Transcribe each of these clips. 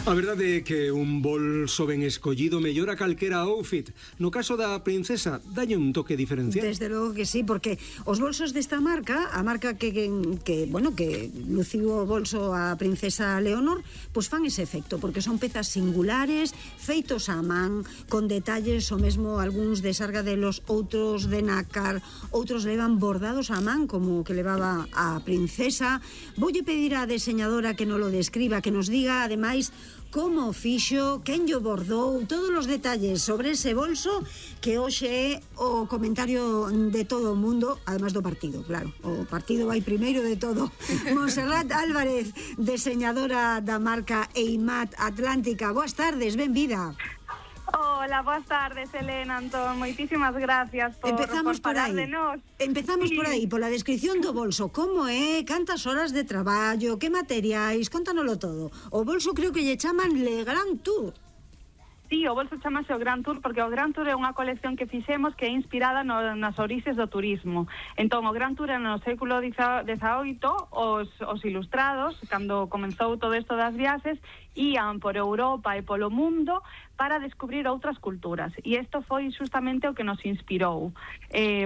A verdade é que un bolso ben escollido mellora calquera outfit. No caso da princesa, dalle un toque diferencial. Desde logo que sí, porque os bolsos desta marca, a marca que luciu o bolso a princesa Leonor, pois fan ese efecto, porque son pezas singulares, feitos á man, con detalles, o mesmo algúns de sargadelos, outros de nácar, outros levan bordados á man, como que levaba a princesa. Voulle pedir á deseñadora que nos lo describa, que nos diga, ademais, como fixo, quen llo bordou, todos os detalles sobre ese bolso, que hoxe é o comentario de todo o mundo, además do partido, claro. O partido vai primeiro de todo. Montserrat Álvarez, deseñadora da marca Eimat Atlántica. Boas tardes, benvida. Hola, boas tardes, Elena, Antón. Moitísimas gracias por falar de nós. Empezamos por aí, pola descripción do bolso. Como é? Cantas horas de traballo? Que materiais? Contanoslo todo. O bolso creo que lle chaman Le Grand Tour. Sí, o bolso chamase o Grand Tour porque o Grand Tour é unha colección que fixemos que é inspirada nas orixes do turismo. Entón, o Grand Tour no século XVIII, os ilustrados, cando comenzou todo isto das viaxes, ían por Europa e polo mundo para descubrir outras culturas. E isto foi justamente o que nos inspirou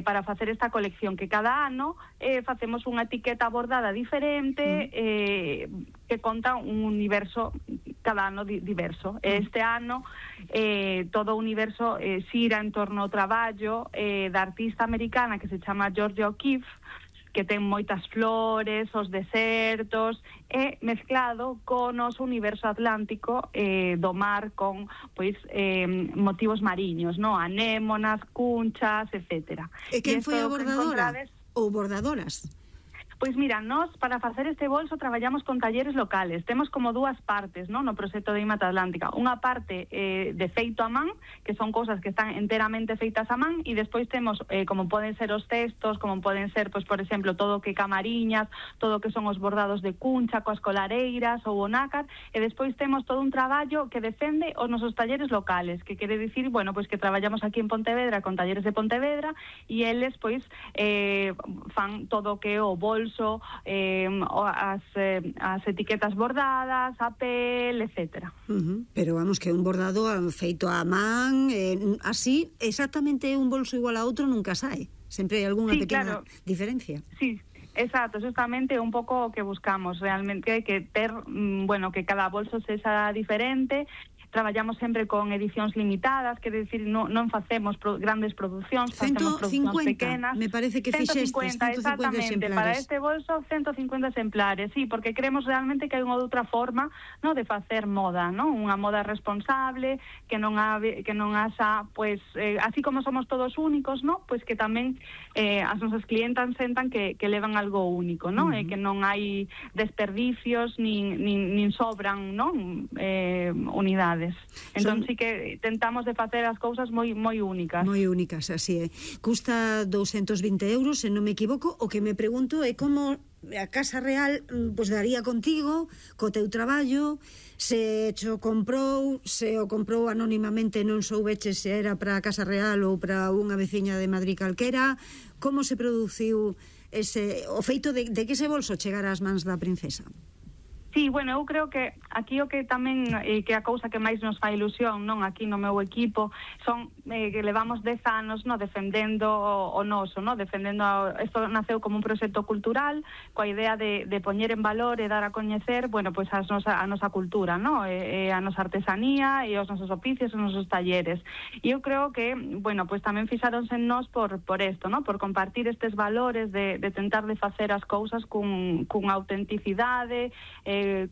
para facer esta colección, que cada ano facemos unha etiqueta bordada diferente que conta un universo cada ano diverso. Este ano todo o universo xira en torno ao traballo da artista americana que se chama Georgia O'Keeffe, que ten moitas flores, os desertos, e mezclado con o noso universo atlántico do mar con pois motivos mariños, no? Anémonas, cunchas, etcétera. E quen foi a bordadora? Ou bordadoras? Pois mira, nós para facer este bolso traballamos con talleres locales. Temos como dúas partes, no proxecto de Eimat Atlántica. Unha parte de feito a man, que son cousas que están enteramente feitas a man, e despois temos como poden ser os cestos, como poden ser, pois por exemplo, todo o que camariñas, todo o que son os bordados de cuncha, coas colareiras ou o nácar, e despois temos todo un traballo que defende os nosos talleres locales, que quere dicir, bueno, pois que traballamos aquí en Pontevedra con talleres de Pontevedra, e eles pois fan todo o que é o bolso, as etiquetas bordadas, a pel, etcétera. Pero vamos, que un bordado feito a man, así, exactamente un bolso igual a outro nunca sae. Sempre hai algunha pequena diferencia. Sí, exacto, justamente un pouco o que buscamos. Realmente hai que ter, bueno, que cada bolso sexa diferente. Traballamos sempre con edicións limitadas, quer decir, non facemos grandes producións, facemos producións pequenas. Me parece que fixestes 150 exactamente, exemplares. Para este bolso 150 exemplares, sí, porque creemos realmente que hai unha outra forma, no, de facer moda, no? Unha moda responsable, que non haxa, pues, así como somos todos únicos, no? Pues que tamén as nosas clientas sentan que levan algo único, no? Que non hai desperdicios, nin sobran, no? Unidades. Entón sí que tentamos de facer as cousas moi únicas. Moi únicas, así é. Custa 220 euros, se non me equivoco. O que me pregunto é como a Casa Real pois daría contigo, co teu traballo, se o comprou anónimamente, non soubeches se era para a Casa Real ou para unha veciña de Madrid calquera. Como se produciu o feito de que ese bolso chegara ás mans da princesa? Sí, bueno, eu creo que aquí o que tamén que a cousa que máis nos fai ilusión, non, aquí no meu equipo, son que levamos 10 anos, no, defendendo o noso, no, defendendo isto naceu como un proxecto cultural coa idea de poñer en valor e dar a coñecer, bueno, pois a nosa cultura, no, a nosa artesanía e os nosos oficios, os nosos talleres. E eu creo que, bueno, pois tamén fixáronse en nós por isto, no, por compartir estes valores de tentar de facer as cousas cunha autenticidade,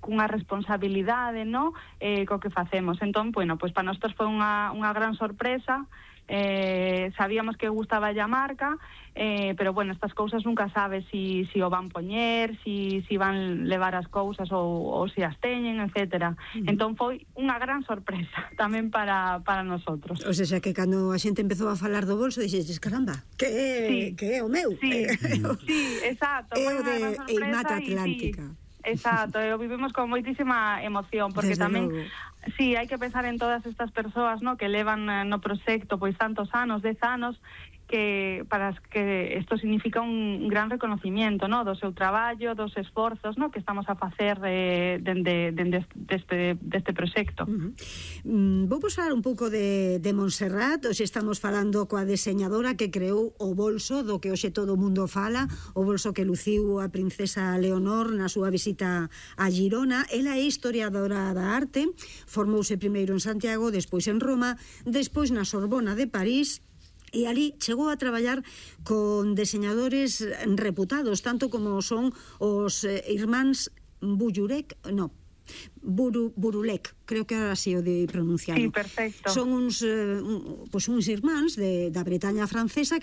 cunha responsabilidade, no, co que facemos. Entón, bueno, pois para nós foi unha gran sorpresa. Sabíamos que gustaba a marca, pero bueno, estas cousas nunca sabes si o van poñer, si van levar as cousas ou si as teñen, etcétera. Entón foi unha gran sorpresa tamén para nosotros. O sea, que cando a xente empezou a falar do bolso dixeches, caramba, que é o meu? Sí, exacto. É o de Eimat Atlántica. Exacto, e o vivimos con moitísima emoción, porque desde tamén logo. Sí, hai que pensar en todas estas persoas, no, que levan no proxecto pois tantos anos, 10 anos, que isto significa un gran reconocimiento, no, do seu traballo, dos esforzos, no, que estamos a facer deste proxecto. Vou falar un pouco de Montserrat. Hoxe estamos falando coa deseñadora que creou o bolso do que hoxe todo o mundo fala, o bolso que luciu a princesa Leonor na súa visita a Girona. Ela é historiadora da arte, formouse primeiro en Santiago, despois en Roma, despois na Sorbona de París, e ali chegou a traballar con deseñadores reputados, tanto como son os irmáns Burulek, creo que ahora sí o de pronunciarlo. Sí, perfecto. Son uns irmáns da Bretaña francesa que